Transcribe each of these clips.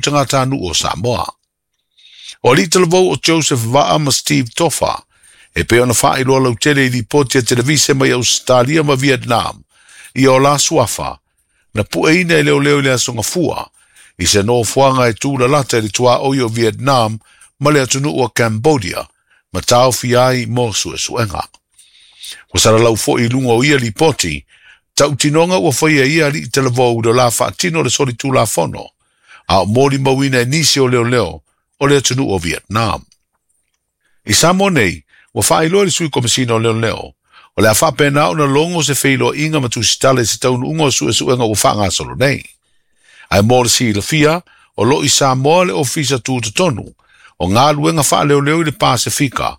tagatanuu o Samoa. O alii talavou o Joseph Vaa ma Steve Tofa, e pei ona faailoa lautele i lipoti a televise mai Ausetalia ma Vietnam, ia o la suafa, na pueina e leoleo i le aso Gafua, i se nofoaga e tulalata i le tuaoi o Vietnam ma le atunuu o Cambodia, ma taofia ai mo suesuega. Ua salalau foi i luga o ia lipoti, tautinoga ua faia e ia alii talavou i lo la faatino o le solitulafono, a o molimauina e nisi o leoleo o le atunuu o Vietnam. I Samoa nei, ua faailoa e le Sui Komesina o Leoleo, o le a faapena ona logo se feiloaiga ma tusitala i se taunuuga o suesuega ua faagasolo nei. Ae mo le silafia, o lo o i Samoa le Ofisa Tutotonu o Galuega Faaleoleo i le Pasefika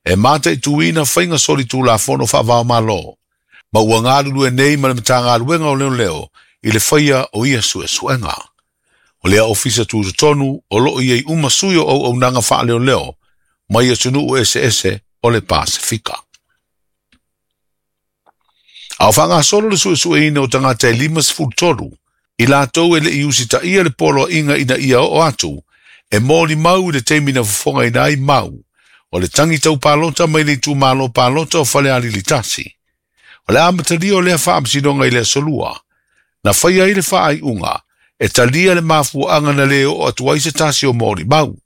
e mataituina faiga solitulafono faava-o-Malo, ma ua galulue nei ma le Matagaluega o Leoleo i le faia o ia suesuega. O lea ofisa tutotonu o lo o i ai uma sui o auaunaga faaleoleo mai atunuu eseese o le Pasefika. A o faagasolo le suesueina o tagata e 53 i latou e le i usitaia le poloaiga ina ia oo atu e molimau i le taimi na fofogaina ai mau o le tagi tau palota mai le itumalo palota o Falealili 1. O le amatalia o lea faamasinoga i le aso Lua, na faia ai le faaiuga e talia le mafuaaga na le oo atu ai se tasi o molimau,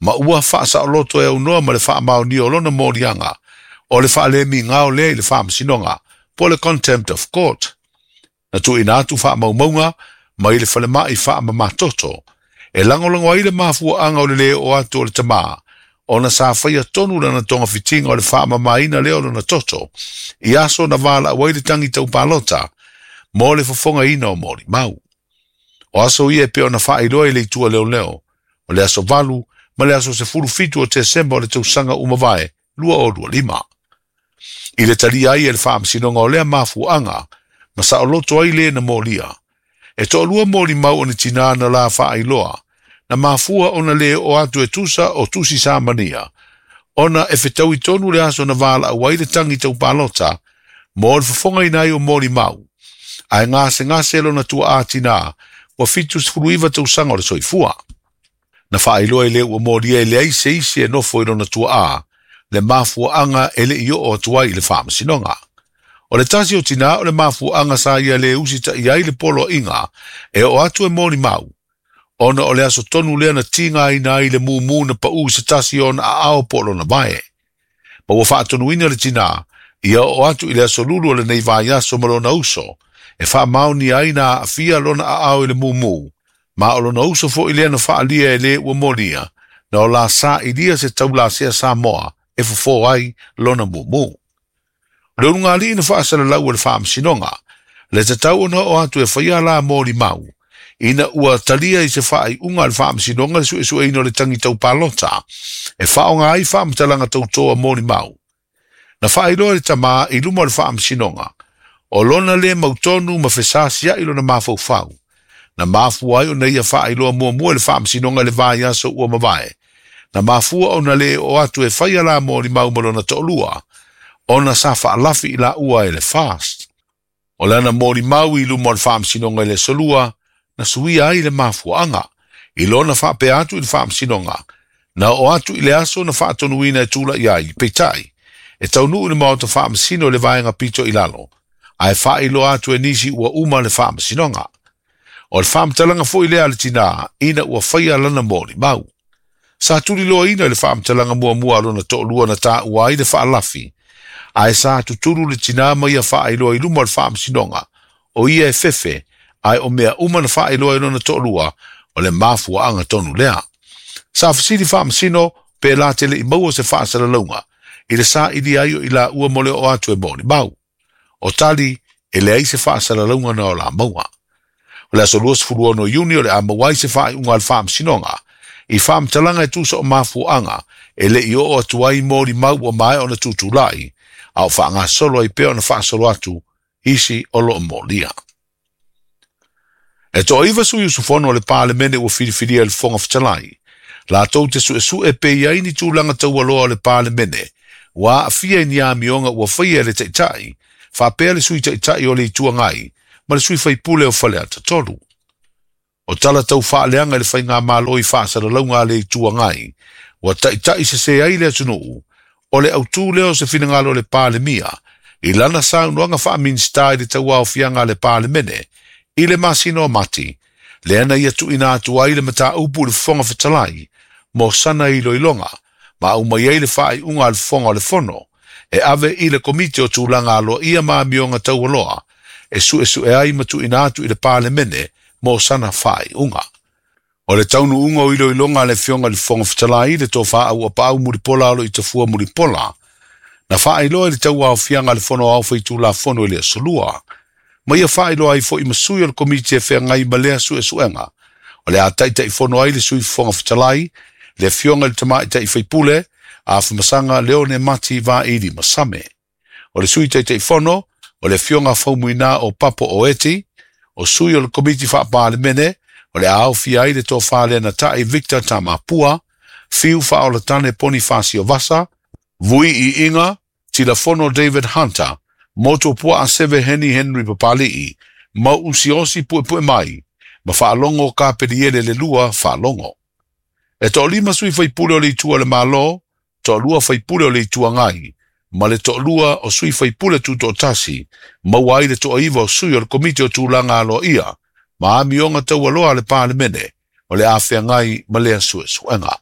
ma ua faasaoloto e aunoa ma le faamaonia o lona moliaga o le faalemigao lea i le faamasinoga po o le contempt of court. Na tuuina atu faamaumauga mai le falemai faamamatoto e lagolago ai le mafuaaga o le le oo atu o le tamā ona sa faia tonu lana togafitiga o le faamamaina lea o lona toto i aso na valaau ai le tagi tau palota mo le fofogaina o molimau. O aso ia e pei ona faailoa i le itu a leoleo, o le aso 8 ma le aso 17 o Tesema o le tausaga ua mavae 2025. I le talia ai e le faamasinoga o lea mafuaaga ma saoloto ai le na molia. E toalua molimau o ni tinā na la faailoa, na mafua ona le oo atu e tusa o tusi samania, ona e fetaui tonu le aso na valaau ai le tagi tau palota mo le fofogaina ai o molimau, ae gasegase lona tuaa tinā ua 79 tausaga o le soifua. Na faailoa i le ua molia e leai se isi e nofo i lona tuaa, le mafuaaga e le i oo atu ai i le faamasinoga. O le tasi o tinā o le mafuaaga sa ia le usitaia ai le poloaiga e oo atu e molimau, ona o le aso tonu lea na tigaina ai le mumu na pau i se tasi o ona aao po o lona vae. Ma ua faatonuina le tinā ia oo atu i le aso Lulu o lenei vaiaso ma lona uso, e faamaonia ai na aafia lona aao i le mumu, ma o lona uso foi lea na faaalia e le ua molia, na o la sailia se taulasea Samoa e fofo ai lona mumu. O le ulugalii na faasalalau e le faamasinoga, le tatau ona oo atu e faia la molimau, ina ua talia i se faaiuga a le faamasinoga le suesueina o le tagi tau palota, e faaaoga ai faamatalaga tautoa molimau. Na faailoa e le tamā i luma o le faamasinoga, o lona le mautonu ma fesasiai lona mafaufau, na mafua ai ona ia faailoa muamua i le faamasinoga i le vaiaso ua mavae, na mafua ona le oo atu e faia la molimau ma lona toalua, ona sa faalafi i laua e le FAST. O lana molimau i luma o le faamasinoga i le aso Lua, na suia ai le mafuaaga, i lona faapea atu i le faamasinoga, na oo atu i le aso na faatonuina e tulai ai, peitai, e taunuu i le maota faamasino i le vaega pito i lalo, ae faailoa atu e nisi ua uma le faamasinoga. O le faamatalaga foi lea a le tinā ina ua faia lana molimau. Sa tuliloaina i le faamatalaga muamua a lona toalua na taua ai le faalafi, ae sa tutulu le tinā ma ia faailoa i luma o le faamasinoga, o ia e fefe, ae o mea uma na faailoa e lona toalua, o le mafuaaga tonu lea. Sa fesili faamasino pe la te le i maua se faasalalauga i le sailia ai o i laua mo le oo atu e molimau. O tali, e leai se faasalalauga na o la maua. O le aso 26 Iuni o le a maua ai se faaiuga a le faamasinoga i faamatalaga e tusa o mafuaaga e le i oo atu ai molimau ua maea ona tutulai, a o faagasolo ai pea ona faasolo atu isi o lo o molia. E toaiva sui usufono o le Palemene ua filifilia e le Fofoga Fetalai, latou te suesue pe i ai ni tulaga taualoa o le Palemene ua aafia i ni amioga ua faia e le Taitai, faapea le Sui Taitai o le Itu Agai ma le sui faipule o Faleata 3. O tala tau faaleaga i le faigamalo i faasalalauga a le Itu Agai, ua taʻitaʻi sesē ai le atunuu, o le autū lea o se finagalo o le Palemia i lana saunoaga faa-Minisita i le tauaofiaga a le Palemene i le masina o Mati, lea na ia tuuina atu ai le mataupu i le Fofoga Fetalai mo sana iloiloga, ma aumai ai le faaiuga a le Fofoga o le Fono e ave i le Komiti o Tulaga Aloaia ma Amioga Taualoa e suesue ai ma tuuina atu i le Palemene mo sana faaiuga. O le taunuuga o iloiloga a le Afioga i le Fofoga Fetalai, le Tofa Auapaau Mulipola Aloitafua Mulipola, na faailoa i le tauaofiaga a le Fono Aoao Faitulafono i le Aso Lua, ma ia faailoa ai foi ma sui o le Komiti e feagai ma lea suesuega, o le a taitaifono ai le Sui Fofoga Fetalai, le Afioga i le Tamaitai Faipule, Afamasaga Leone Mati Vaili Masame. O le Sui Taitaifono, o le Afioga Faumuina o Papo Oeti, o sui o le Komiti Faa-Palemene, o le a aofia ai le Tofa Lenatai Victor Tamapua, Fiu Faaolatane Ponifasio Vasa, Vui Iiga, Tilafono David Hunter, Moto Puaa Seve Heni Henry Papali'i, Mauusi Osi Puepue Mai, ma Faalogo Kapeliele le Lua Faalogo. E toalima sui faipule o le Itu a le Malo, toalua faipule o le Itu Agai, ma le toalua o sui faipule tutoatasi, maua ai le toaiva o sui o le Komiti o Tulaga Aloaia, ma amioga taualoa a le Palemene, o le a feagai ma lea suesuega.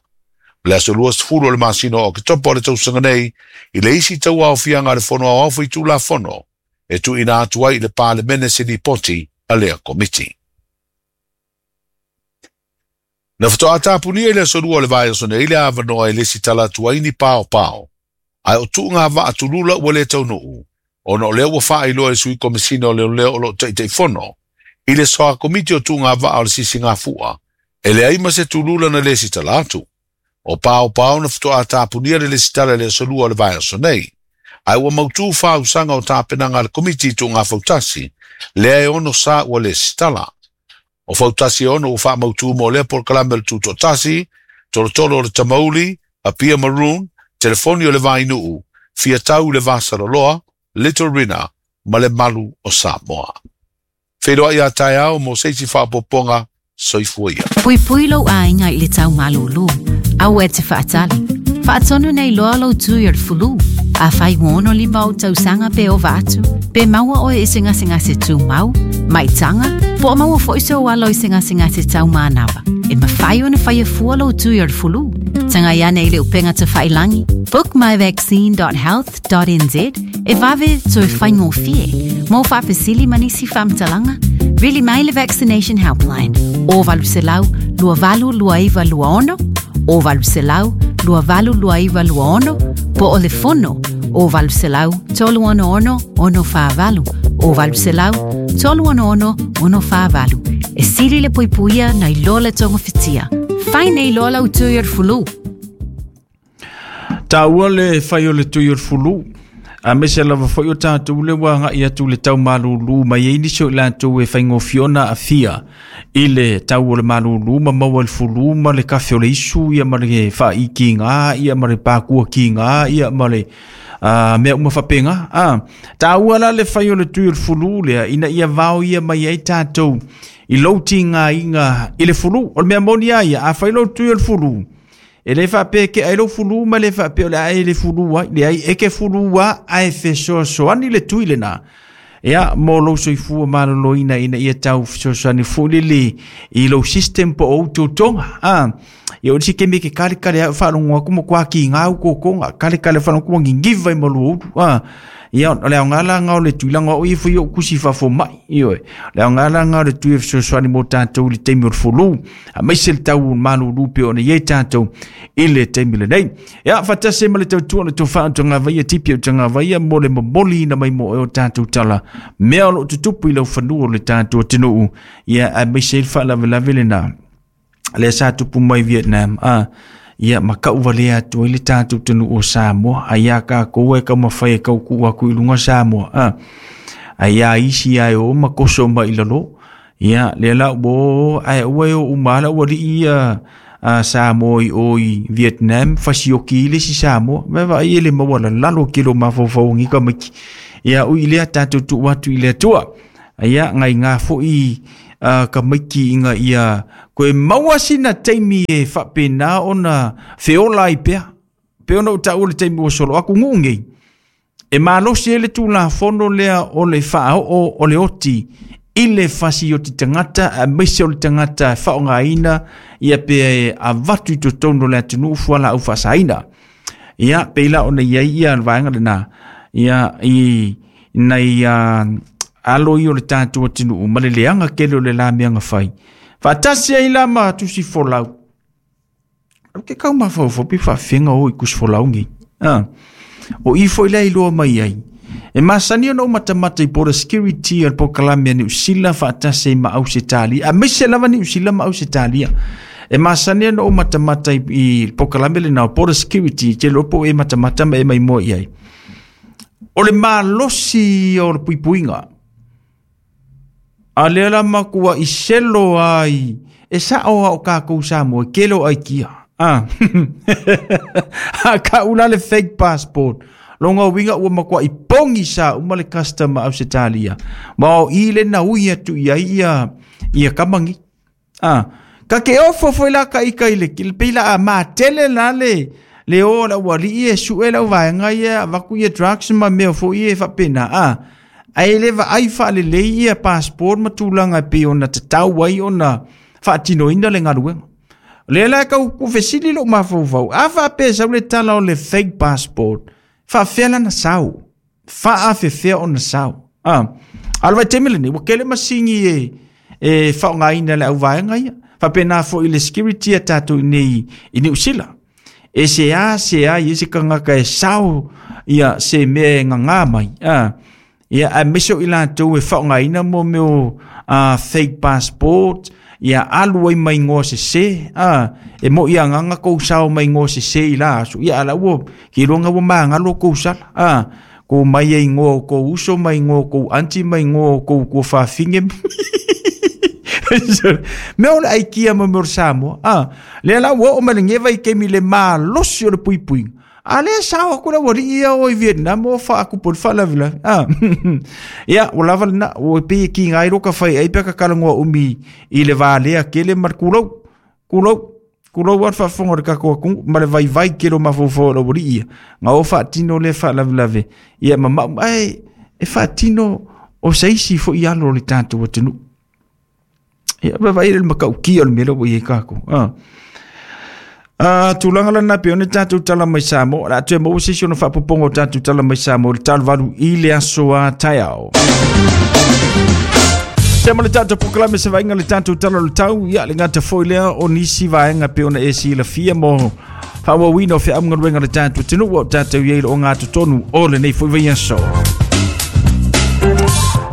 O le aso 20 o le masina o Oketopa o le tausaga nei, i le isi tauaofiaga a le Fono Aoao Faitulafono, e tuuina atu ai i le Palemene se lipoti a lea komiti. Na faatoa tapunia i le aso Lua o le vaiaso nei le avanoa e lesitala atu ai ni paopao, ae o tuuga vaa tulula ua le taunuu, ona o lea ua faailoa e le Sui Komesina o Leoleo o loo Taitaifono i le Soa Komiti o Tuuga Vaa o le Sisigafua, e leai ma se tulula na lesitala atu. O paopao na faatoa tapunia le lesitala i le aso Lua o le vaiaso nei, ae ua mautū faausaga o tapenaga a le Komiti i Tuuga Fautasi, lea e ono sa ua lesitala. O fautasi e ono ua faamautū mo lea polokalame o le Tutoatasi, Tolotolo o le Tamauli, Apia Maroon, Telefoni o le Vainuu, Fiatau i le Vasaloloa, Little Rina, ma le Malu o Samoa. Feiloai a taeao mo se isi faaopoopoga, soifua ia. Puipui lou aiga i le tau malūlū. Aua e te faatali. Faatonu nei loa lou tui o le fulu. Afai ua 65 ou tausaga pe ova atu, pe maua oe i se gasegase tumau, maitaga, po o maua foi sou alo i se gasegase taumanava, e mafai ona faia fua lou tui o le fulu. Tagai ane i le upega tafailagi bookmyvaccine.health.nz e vave toe faigofie. Mo faafesili ma nisi faamatalaga, vili mai le Vaccination Helpline o 800 2829 26 o 800 2829 26 po o le fono o 800 366 648 o 800 366 648. E sili le puipuia nai lo le togofitia. Fai nei loa lau tui o le fulu. Taua le fai o le tui o le fulu. Aemaise lava foi o tatou le ua agai atu i le tau malūlū mai ai nisi o i latou e faigofie ona aafia i le tau o le malūlū ma maua i le fulu ma le kafe o le isu ia ma le faai kiga ia ma le pakua kiga ia ma le mea uma faapena. Taua la le fai o le tui o le fulu lea ina ia vao ia mai ai tatou i lou tigaina i le fulu. O le mea moni lava ia, a fai lou tui o le fulu, e le faapea e kea ai lou fulu ma le faapea o le a e le fulu ai. Leai, e ke fulu lava ae fesoasoani le tui lena. Ia, mo lou soifua maloloina ina ia tau fesoasoani foi lele i lou system po o ou totoga. Ia, o le isi taimi e te kalekale ai o faalogo atu matua kiga au totoga, kalekale faalogo atu ua niniva i malu o ulu. Ia, o le aoga la lena o le tui, leaga o au ia foi ou tusi faafomai, ioe. O le aoga la lena o le tui e fesoasoani mo tatou i le taimi o le fulu, aemaise le tau malūlū pei ona i ai tatou i le taimi lenei. Ia, faatasi ai ma le tautua o le tofa o Tagavaia, Tipi o Tagavaia, mo le momoliina mai mo oe o tatou tala, mea o lo o tutupu i laufanua o le tatou atunuu, ia, aemaise ai le faalavelave lena lea sa tupu mai Vietnam, ia ma kau valea atu ai le tatou atunuu o Samoa, ai ia tatou e taumafai e tau tuu atu i luga Samoa, ai ia isi ae o ma koso mai i lalo, ia lea la ua o ae aua e o uma lava lau alii ia Samoa i o i Vietnam, fasioki ai le isi Samoa, vaavaai e le maua lalalo kelo mafaufau o nei tamaiti, ia ui i lea tatou tuu atu i le Atua. Ia, nai ngā foi Tamaiti ina ia koe maua sina taimi e faapena ona feola ai pea. Pe ona ou taua le taimi ua solo aku nuu nei. E malosi ai le Tulafono lea o le faaoo o le oti i le fasioti tagata aemaise o le tagata e faaaogaina ia pe avatu i totonu o le atunuu fualaau faasaina. Ia, pei la ona i ai ia le vaega lena, ia i nai alo ia o le tatou atunuu ma le leaga tele o le la mea na fai. Faatasi ai la ma tusi folau. Au ke kau mafaufau pe faafega o i tusi folau nei. Ah. O i foi lea iloa mai ai. E masani ona ou matamata i Border Security o le polokalame a Niu Sila faatasi ai ma Ausetalia, aemaise lava Niu Sila ma Ausetalia. E masani ona ou matamata i le polokalame lena o Border Security, te iloa po o e matamata ma e maimoa i ai. O le malosi o le puipuiga, a lea la matuai selo ai, e sao a o kākou Samoa, e kele o aikia. Ah. A kau la le fake passport. Longa uiga ua matuai pogi sa uma le custom a Ausetalia. Ma o i le na ui atu i ai ia, ia kamangi. Ah. Ka ke ofo foi la ka ika i le, le pei la a matele la le, le o la ua lii e sue lau vaega ia, avaku ia drugs ma mea foi e faapena. Ah. Ae le vaai faalelei ia passport ma tulaga e pei ona tatau ai ona faatinoina le galuega. O lea la e tau fesili lou mafaufau, a faapea e sau le tala o le fake passport, faafefea lana sau? Faafefea ona sau? Ah, a o le vaitaimi lenei, ua tele masini e, e faaaogaina e le auvaega ia. Faapena foi i le security a tatou i nei i Niu Sila. E se a se a i se tagata e sao ia se mea e gagā mai. Ah, ia aemaise o i latou e faaaogaina mo mea o fake passport, ia alu ai ma igoa sese, e moi agaga kou sao ma igoa sese i la aso, ia ala ua ke iloa ua magalo kou sala, kou mai e igoa o kou uso, ma igoa o kou auntie, ma igoa o kou kuafafine. Mea o le aikia ma mea o le Samoa, lea la ua oo mai le geva i kemi le malosi o le puipuiga. A lea sao aku le ualii ia o i Vietnam o faakupu le faalavelave. Ah. Ia, ua lava lena, ua pei e kiga ai lo ka fai ai pe ka talanoa umi i le valea tele ma le kulou. Kulou, kulou a le faafofoga o le tatou atunuu ma le vaivai tele o mafaufau o le ualii ia. Na o faatino lea faalavelave, ia ma mau, ae e faatino o se isi foi alo o le tatou atunuu. Ia, vaavaai le matautia o le mea lea ua i ai tatou. Ah. Tulaga lana pe one tatou tala mai Samoa. O le a toe maua se isi ona faapopoga o tatou tala mai Samoa i le 8 i le aso a taeao. Se ma le tatou polokalame se vaaiga le tatou tala o le tau, ia le gata foi lea o nisi vaega pe ona e silafia mo faaauauina o feamugaluega le tatou atunuu o tatou i ai le ogatotonu o lenei foi vaiaso.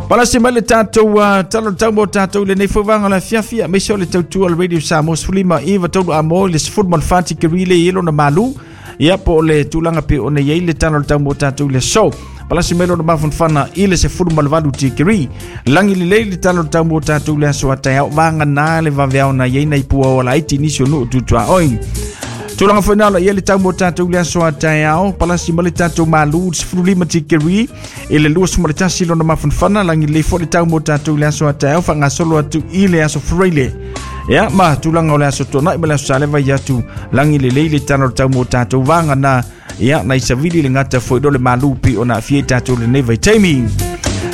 Palasi mai le tatou tala o le tau mo tatou i lenei foi vaega o le afiafi, aemaise o le tautua o le Radio Samoa 15 iva tolu a mo i le 14 tikeri le i lona malu. Ia po o le tulaga pe ona i ai le tala o le tau mo tatou i le aso. Palasi mai lona mafanafana i le 18 tikeri. Lagi lelei le tala o le tau mo tatou i le aso a taeao, vagana le vaveao na i ai nai pua o laiti nisi o nuu tutuaoi. Tulaga foi na ala i ai le tau mo tatou i le aso a taeao, palasi mai le tatou malu 15 tikeri i le 21 lona mafanafana, lagi lelei foi le tau mo tatou i le aso a taeao, faagasolo atu i le aso Friday. Ia, ma tulaga o le aso Tuanai ma le aso Saleva i atu lagi lelei le tala o le tau mo tatou vagana. Ia, nai savili le gata foi lo le malu pi ona aafia i tatou lenei vaitaimi.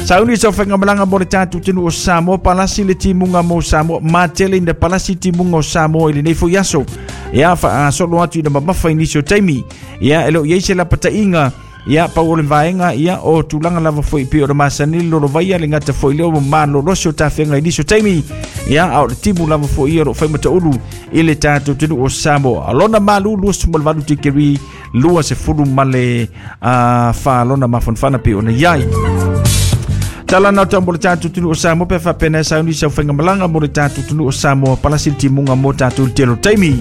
Sauni sa whaingamalaga mo le tatou atunuu o Samoa, palasi le timuga mo Samoa, matele ina palasi timuga o Samoa i lenei foi aso. Ia, faagasolo atu ina mamafa i nisi o taimi. Ia, e le o i ai se lapataiga, ia, pau o le vaega, ia, o tulaga lava foi pei o le masani le lolovaia, le gata foi lea o malolosi o tafega i nisi o taimi. Ia, a o le timu lava foi ia o lo o faimataulu i le tatou atunuu o Samoa. Lona malu 28 tikeri 20 ma le fa lona mafanafana pei ona i ai. Tala na tau mo le tatou atunuu o Samoa pe faapena e sauni sau faigamalaga mo le tatou atunuu o Samoa palasi le timuga mo tatou i le tele o taimi.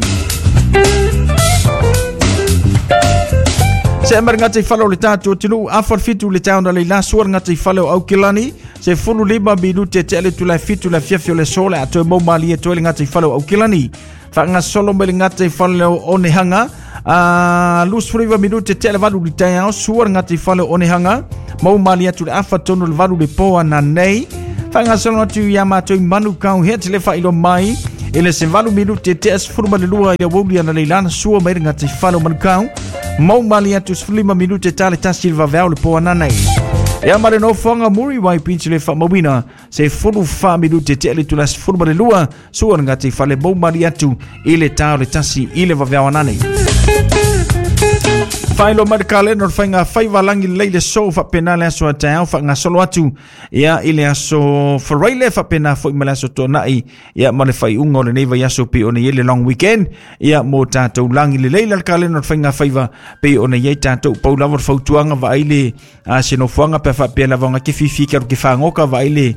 Se amar ngata i whale o le tātou atunuu, afa le fitu le taona le ila sua le ngata i whale o Aukilani, se fulu lima minute te ale tu le fitu le fiafi o le so le atoe mau malie toe le ngata i whale o Aukilani. Faagasolo mai le gata i fale o Onehanga, a 29 minute tea le valu i le taeao, sua le gata i fale o Onehanga, mau malie atu le afa tonu le valu le po ana nei. Faagasolo atu ia matou i Manukau hea te le faailoa mai i le se 8 minute tea 12 i le aoauli analeila na sua mai le gataifale o Manukau mau mali atu 15 minute ta le 1 i le vaveao le po ananei. Ia ma le nofoaga Muriwai Beach le faamauina se 14 minute tea le itula 12 sua le gataifale mau mali atu i le ta o le 1 i le vaveao ananei. Faailoa mai le kalena o le faiga faiva lagi lelei le so faapena le aso a taeao faagasolo atu ia i le aso Faraile faapena foi ma le aso Toonai ia ma le faaiuga o lenei vaiaso pei ona i ai le long weekend ia mo tatou lagi lelei la le kalena o le faiga faiva pei ona i ai tatou pau lava le fautuaga vaai le se nofoaga pe faapea lava ona ke fifi ke alu ke fagoka vaai le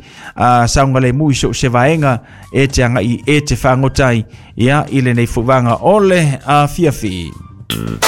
saogalemu i so o se vaega e te agai e te fagota ai ia i lenei foi vaega o le afiafi.